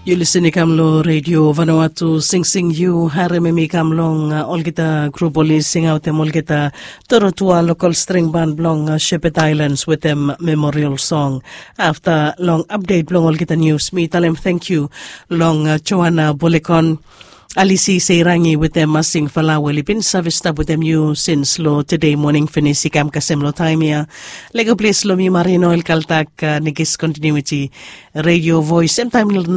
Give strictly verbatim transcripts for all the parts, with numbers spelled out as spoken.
Yu lisin i kam long redio Vanuatu, singsing yu harem em i kam long olgeta grup oli singaotem olgeta torotua lokal string ban blong Shepherd Islands wetem memorial song. Afta long apdet blong olgeta nius mi talem tangkiu long Joana Bolekon, Alisi Seirangi wetem Masing Fala we oli bin save stap wetem yu sins long tede moning finis i kam kasem long taem ya. Lego ples long mi Marino el kaltak, nekis kontinuiti redio voes semtaem long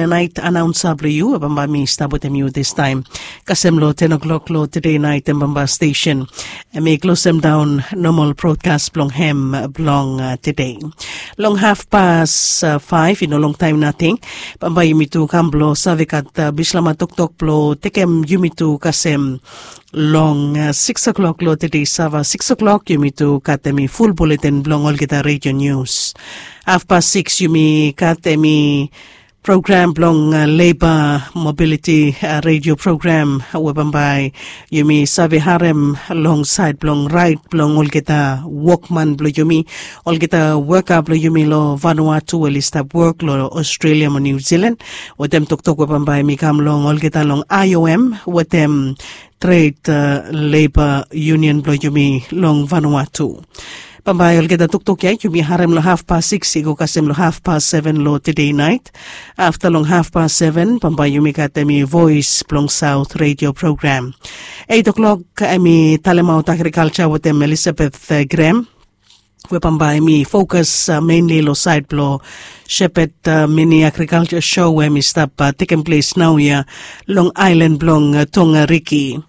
naet anaonsa blong yu we bambae mi stap wetem yu distaem kasem long ten o'clock long tede naet em bambae stesen em i klosem daon nomal brodkas blong hem blong tede. Long hafpas faef i no longtaem nating bambae yumi tu kam blong save gat bislama toktok blong tekem yumi tu kasem long siks o'klok long tede sava siks o'klok yumi tu gat em i ful buletin blong olgeta redio nius. Hafpas siks yumi gat em i program blong leba mobiliti redio program we bambae yumi save harem long saed blong raet blong olgeta wokman blong yumi, olgeta woka blong yumi long Vanuatu we oli stap wok long Australia mo New Zealand. Wetem toktok we bambae mi kam long olgeta long I O M wetem Trade Labor Union blong yumi long Vanuatu. Bambae olgeta toktok ya yumi harem long hafpas siks i go kasem long hafpas seven long tede naet. Afta long hafpas seven bambae yumi gat em i voes blong Saot redio program. Eit o'klok em i talemaot agrikalja wetem Elisabeth Grem we bambae mi fokas menli long saed blong Shepherd Mini Agrikalja Show we mi stap tekem ples naoia long aelan blong Tongariki.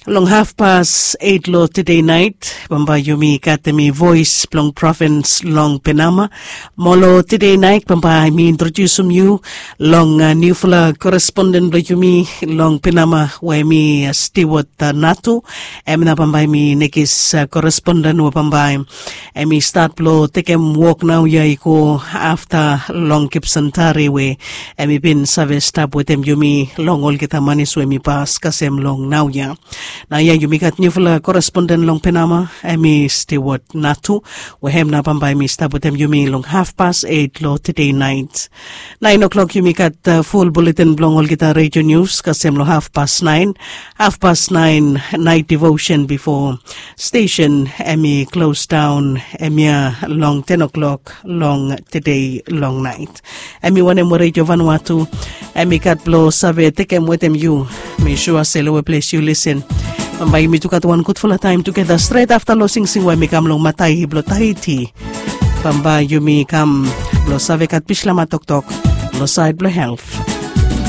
Long hafpas eit long tede naet bambae yumi gat em i voes blong provins long Penama. Mo long tede naet bambae mi introdiusim yu long niufala koresponden blong yumi long Penama we em i Stewart Natu. Em nao bambae mi nekis koresponden we bambae em i stat blong tekem wok naoia i go afta long Gibson Tari we em i bin save stap wetem yumi long olgeta manis we em i pas kasem long naoia. Naoia yumi gat niufala koresponden long Penama em i Stewart Natu we em nao bambae em i stap wetem yumi long hafpas eit long tede naet. Naen o'klok yumi gat ful buletin blong olgeta redio nius kasem long hafpas naen. Hafpas naen naet devosen bifo stesen em i klos daon em ya long ten o'klok long tede long naet. Em i wanem we redio Vanuatu em i gat blong save tekem wetem yu. Mi sua se long we ples yu lisin bambae yumi tu gat wan gudfala taem tugeta stret afta long singsing we em i kam long matai blong Tahiti. Bambae yumi kam blong save gat bislama toktok long saed blong helt.